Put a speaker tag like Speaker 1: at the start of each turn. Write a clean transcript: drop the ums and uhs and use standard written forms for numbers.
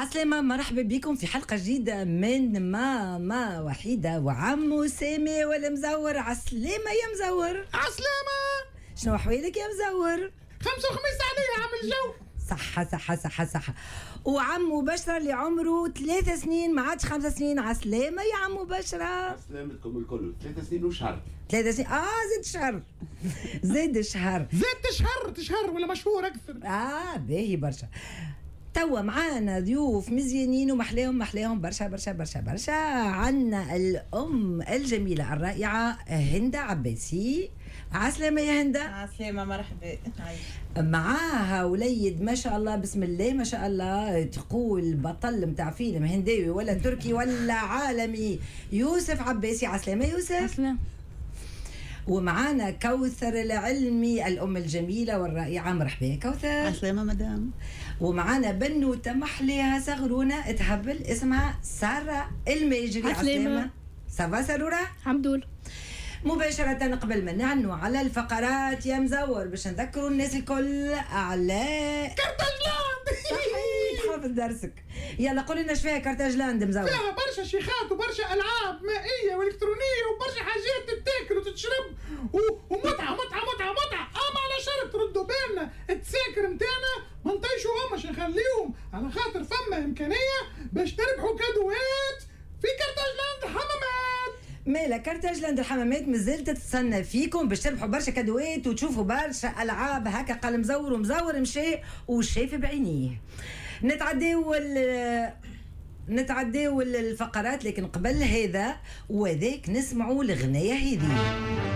Speaker 1: عسلامة، مرحبا بكم في حلقة جديدة من ماما وحيدة وعمو سامي والمزور. عسلامة يا مزور.
Speaker 2: عسلامة.
Speaker 1: شنو أحوالك يا مزور؟
Speaker 2: خمسة وخميس عليا، عامل جو.
Speaker 1: صحة صحة صحة صحة. وعمو بشرى اللي عمره 3 سنين، ما عادش 5 سنين. عسلامة يا عمو بشرى.
Speaker 3: سلامتكم الكل، 3 سنين وشهر.
Speaker 1: 3 سنين، زاد شهر، زاد شهر.
Speaker 2: زاد شهر، تشهر ولا مشهور اكثر.
Speaker 1: اه باهي برشا. توا معانا ضيوف مزيانين ومحلاهم، محلاهم برشا برشا برشا برشا. عنا الأم الجميلة الرائعة هندة عباسي. عسلامة يا هندة.
Speaker 4: عسلامة، مرحبا.
Speaker 1: معاها وليد ما شاء الله، بسم الله ما شاء الله، تقول بطل متاع فيلم هنداوي ولا تركي ولا عالمي، يوسف عباسي. عسلامة يوسف.
Speaker 5: عسلامة.
Speaker 1: ومعانا كوثر العلمي، الأم الجميلة والرائعة. مرحبا يا كوثر.
Speaker 4: عسلامة مدام.
Speaker 1: ومعانا بنوتة محليها صغرونة تهبل، اسمها سارة الماجري.
Speaker 5: عسلامة.
Speaker 1: ça va سارورة؟
Speaker 5: الحمد لله.
Speaker 1: مباشرة قبل ما نعنوا على الفقرات يا مزور، باش نذكروا الناس الكل على
Speaker 2: كارتاجلاند.
Speaker 1: صحيح، حافظ درسك. يلا قول لنا فيها كارتاجلاند مزور؟
Speaker 2: فيها برشا شيخات وبرشا العاب مائية والكترونيه وبرشا حاجات تتاكل وتتشرب ومتعه متعه متعه متعه، اما على شرط ردوا بالنا التساكر نتاعنا ما نطيشوهمش، نخليهم على خاطر فما امكانية باش تربحوا كادوات في كارتاجلاند حمامات.
Speaker 1: مالا كارتاجلاند الحمامات مازالت تستنى فيكم باش تربحوا برشا كادوات وتشوفوا برشا العاب. هكا قال مزور، ومزور مشى وشاف بعينيه. نتعداو الفقرات، لكن قبل هذا وذاك نسمعوا الغنايه هذه.